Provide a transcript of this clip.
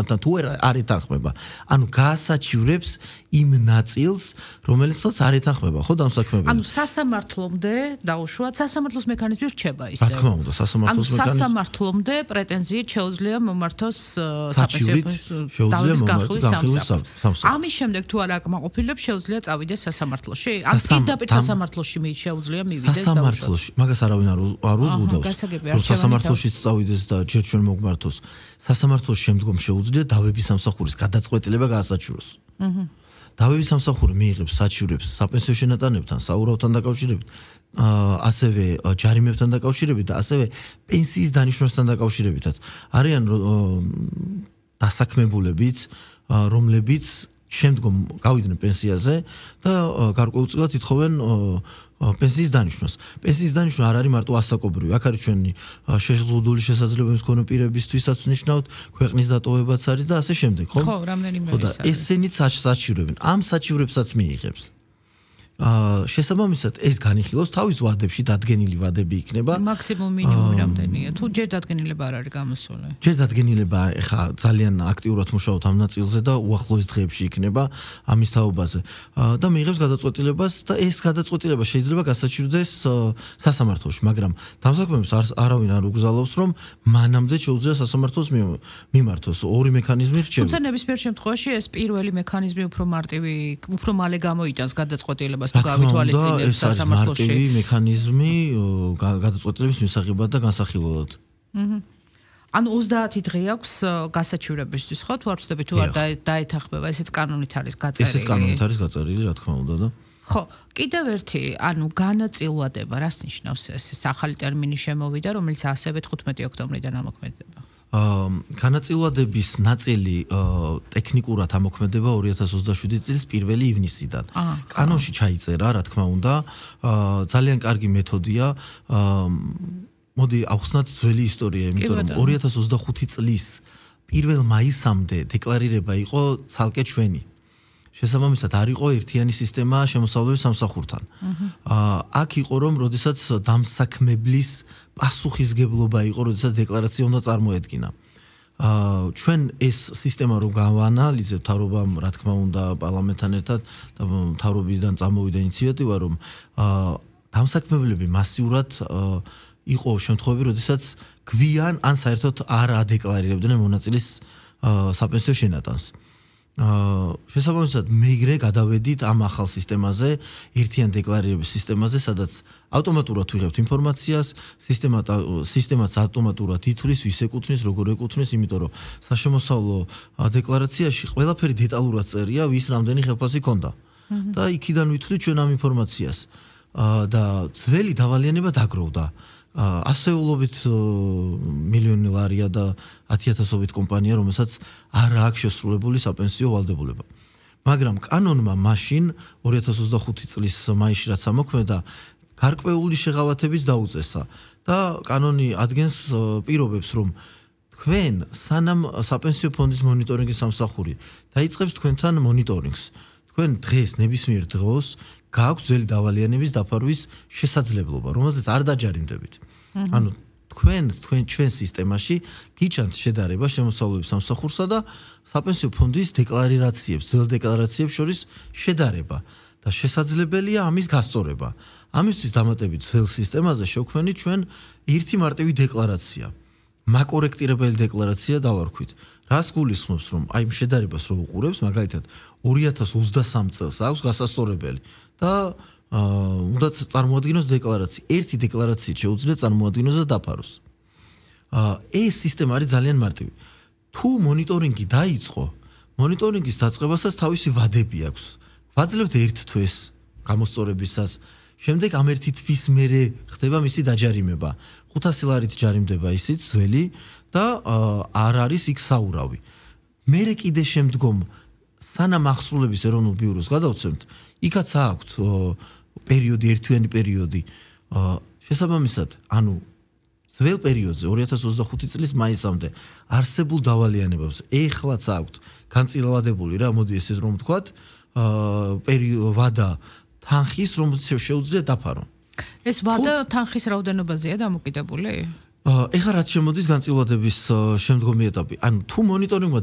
თუ არ ეთანხმება. ანუ გაასაჩივრებს იმ ნაწილს, რომელსაც არ ეთანხმება, ხო დამსაქმებელი. ანუ სასამართლომდე დაუშვათ სასამართლოს მექანიზმი რჩება ისე. რა თქმა უნდა, სასამართლოს მექანიზმი. ანუ სასამართლომდე პრეტენზიით შეუძლია მომართოს შეუძლია მომართოს ამის შემდეგ თუ არ აკმაყოფილებს შეუძლია წავიდეს სასამართლოში? ან პირდაპირ სასამართლოში შეუძლია მივიდეს სასამართლოში, მაგას არავინ არ უზღუდავს. რომ სასამართლოში წავიდეს და ჯერ ჩვენ მოგმართოს. სასამართლოს შემდგომ შეუძლია დავების სამსახურის გადაწყვეტილება გაასაჩივროს. დავების სამსახური მიიღებს საჩივრებს საპენსიო შენატანებთან, საურავთან დაკავშირებით, ასევე ჯარიმებთან დაკავშირებით და ასევე პენსიის დანიშნვასთან დაკავშირებითაც. არიან დასაქმებულებიც, რომლებიც შემდგომ გავიდნენ პენსიაზე და გარკვეულწილად ითხოვენ პენსიის დანიშნვას. პენსიის დანიშნვა არ არის მარტო ასაკობრივი, აქ არის ჩვენი შეზღუდული შესაძლებლობების მქონე პირებისთვისაც ნიშნავთ, ქვეყნის დატოვებაც არის და ასე შემდეგ, ხო? ხო, რამდენიმე ხო და ესენიც საჩივრებენ. ამ საჩივრებსაც მიიღებს. შესაბამისად ეს განიხილავს თავის ვადებში დადგენილი ვადები იქნება. მაქსიმუმ მინიმუმი რამდენია? თუ ჯერ დადგენილება არ არის გამოსული. ჯერ დადგენილება ეხა ძალიან აქტიურად მუშაობთ ამ ნაწილზე და უახლოეს დღეებში იქნება ამის თაობაზე. და მიიღებს გადაწყვეტილებას და ეს გადაწყვეტილება შეიძლება გასაჩივრდეს სასამართლოში, მაგრამ დამსაქმებელს არავინ არ უგზავნოს, რომ მანამდე შეუძლია სასამართლოს მიმართოს. ორი მექანიზმი რჩება. თუმცა ნებისმიერ შემთხვევაში ეს პირველი მექანიზმი უფრო მალე გამოიტანს გადაწყვეტილებას. ეს არის მარტივი მექანიზმი გადაწყვეტილების მისაღებად და განსახილველად. ანუ 30 დღე აქვს გასაჩივრებისთვის, ხო? თუ არ ვცდები, თუ არ დაეთანხმება, ესეც კანონით არის გაწერილი. ესეც კანონით არის გაწერილი, რა თქმა უნდა და. ხო, კიდევ ერთი, ანუ განაწილვადება, რას ნიშნავს ეს ახალი ტერმინი შემოვიდა, რომელიც ასევე 15 ოქტომბრიდან ამოქმედება? განაწილვადების ნაწილი ტექნიკურად ამოქმედება 2027 წლის 1 ივნისიდან. კანონში ჩაიწერა, რა თქმა უნდა, ძალიან კარგი მეთოდია. მოდი ავხსნათ ძველი ისტორია, იმიტომ რომ 2025 წლის 1 მაისამდე დეკლარირება იყო ცალკე ჩვენი. შესაბამისად არ იყო ერთიანი სისტემა შემოსავლების სამსახურთან. აქ იყო რომ როდესაც დამსაქმებლის პასუხისგებლობა იყო, როდესაც დეკლარაცია უნდა წარმოედგინა. ჩვენ ეს სისტემა რო გავაანალიზებთ, თავრობამ, რა თქმა უნდა, პარლამენტთან ერთად და თავრობიდან წამოვიდა ინიციატივა, რომ დამსაქმებლები მასიურად იყო შემთხვევები, როდესაც გვიან ან საერთოდ არ ადეკლარირებდნენ მონაწილის საპენსიო შენატანს. შესაბამისად მეგრე გადავედით ამ ახალ სისტემაზე, ერთიან დეკლარირების სისტემაზე, სადაც ავტომატურად ვიღებთ ინფორმაციას, სისტემაც ავტომატურად ითვლის, ვის ეკუთვნის, როგორ ეკუთვნის, იმიტომ რომ საშემოსავლო დეკლარაციაში ყველაფერი დეტალურად წერია, ვის რამდენი ხელფასი ქონდა. და იქიდან ვითვლით ჩვენ ამ ინფორმაციას. და ძველი დავალიანება დაგროვდა. ასეულობით მილიონი ლარია და 10,000-ობით კომპანია, რომელსაც არ აქვს შესრულებული საპენსიო ვალდებულება. მაგრამ კანონმა მაშინ 2025 წლის მაისში რაც ამოქმედა, გარკვეული შეღავათების დაუწესა და კანონი ადგენს პირობებს, რომ თქვენ სანამ საპენსიო ფონდის მონიტორინგის სამსახური დაიწყებს თქვენთან მონიტორინგს, თქვენ დღეს ნებისმიერ დროს გააქვს ძველი დავალიანების დაფარვის შესაძლებლობა, რომელზეც არ დაჯარიმდებით. ანუ ჩვენ სისტემაში გიჩანთ შედარება შემოსავლების სამსახურსა და საპენსიო ფონდის დეკლარაციებს, ძველ დეკლარაციებს შორის შედარება და შესაძლებელია ამის გასწორება. ამისთვის დამატებით ძველ სისტემაზე შევქმნით ჩვენ ერთი მარტივი დეკლარაცია. მაკორექტირებელი დეკლარაცია დავარქვით. რას გულისხმობს, რომ აი შედარებას რო უყურებს, მაგალითად 2023 წელს აქვს გასასწორებელი და უნდა წარმოადგინოს დეკლარაცია. ერთი დეკლარაციით შეუძლია წარმოადგინოს და დაფაროს. ეს სისტემა არის ძალიან მარტივი. თუ მონიტორინგი დაიწყო, მონიტორინგის დაწყებასაც თავისი ვადები აქვს. ვაძლევთ ერთ თვეს გამოსწორებისას, შემდეგ ამ ერთი თვის მერე ხდება მისი დაჯარიმება. 500 ლარით ჯარიმდება ისიც ძველი და არ არის იქ საურავი. მერე კიდე შემდგომ სანამ ახსრულების ეროვნულ ბიუროს გადავცემთ, იქაც აქვთ პერიოდი, ერთვიანი პერიოდი. შესაბამისად, ანუ ძველ პერიოდზე 2025 წლის მაისამდე არსებულ დავალიანებებს ეხლაც აქვთ განწილვადებული რა, მოდი ესეთ რომ ვთქვათ, ვადა თანხის, რომელიც შეუძლია დაფარო. ეს ვადა თანხის რაოდენობაზეა დამოკიდებული? ეხლა რაც შემოდის განწილვადების შემდგომი ეტაპი. ანუ თუ მონიტორინგმა